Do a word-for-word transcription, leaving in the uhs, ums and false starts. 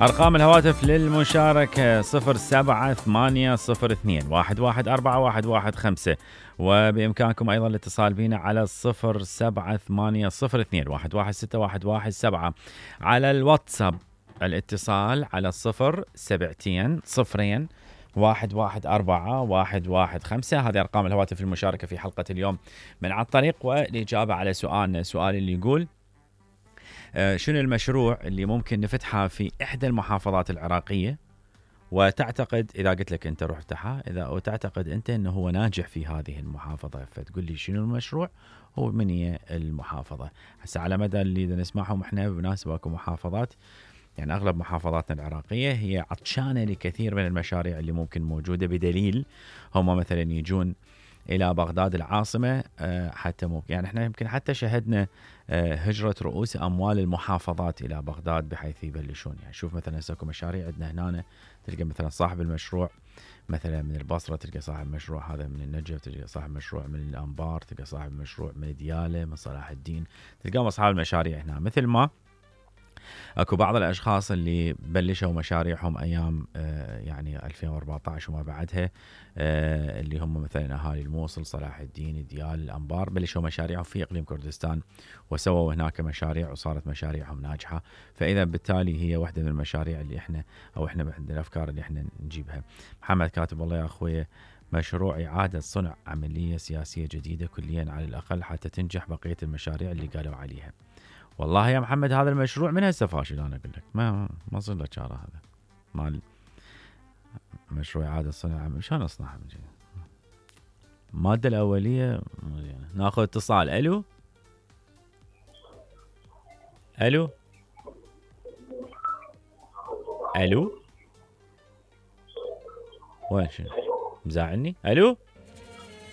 أرقام الهواتف للمشاركة صفر سبعة ثمانية صفر اثنين واحد واحد أربعة واحد واحد خمسة، وبإمكانكم أيضا الاتصال بنا على صفر سبعة ثمانية صفر اثنين واحد واحد ستة واحد واحد سبعة. على الواتساب الاتصال على صفر سبعتين صفرين واحد واحد أربعة واحد واحد خمسة. هذه أرقام الهواتف المشاركة في حلقة اليوم من على الطريق. والإجابة على سؤالنا، سؤال اللي يقول آه شنو المشروع اللي ممكن نفتحه في إحدى المحافظات العراقية، وتعتقد إذا قلت لك أنت رحتها إذا وتعتقد أنت أنه هو ناجح في هذه المحافظة، فتقول لي شنو المشروع هو من هي المحافظة. هسه على مدى اللي نسمعهم احنا بمناسبة محافظات، يعني أغلب محافظاتنا العراقية هي عطشانة لكثير من المشاريع اللي ممكن موجودة، بدليل هم مثلا يجون إلى بغداد العاصمة حتى ممكن يعني احنا يمكن حتى شهدنا هجرة رؤوس أموال المحافظات إلى بغداد بحيث يبلشون. يعني شوف مثلا ساكو مشاريع عندنا هنا، تلقى مثلا صاحب المشروع مثلا من البصرة، تلقى صاحب مشروع هذا من النجف، تلقى صاحب مشروع من الأنبار، تلقى صاحب مشروع من ديالى، من صلاح الدين، تلقى أصحاب المشاريع هنا. مثل ما اكو بعض الاشخاص اللي بلشوا مشاريعهم ايام آه يعني ألفين وأربعة عشر وما بعدها، آه اللي هم مثلا اهالي الموصل، صلاح الدين، ديال، الانبار، بلشوا مشاريعهم في اقليم كردستان وسووا هناك مشاريع وصارت مشاريعهم ناجحه. فاذا بالتالي هي واحده من المشاريع اللي احنا او احنا من الافكار اللي احنا نجيبها. محمد كاتب والله يا اخوي، مشروع إعادة صنع عملية سياسية جديدة كليا على الأقل حتى تنجح بقية المشاريع اللي قالوا عليها. والله يا محمد هذا المشروع من هسه فاشل، انا اقول لك ما ما صار له شاره. هذا مال مشروع اعاده صنع شلون اصنعها من جديد. الماده الاوليه ناخذ اتصال. الو الو الو وين شنو مزاعني؟ الو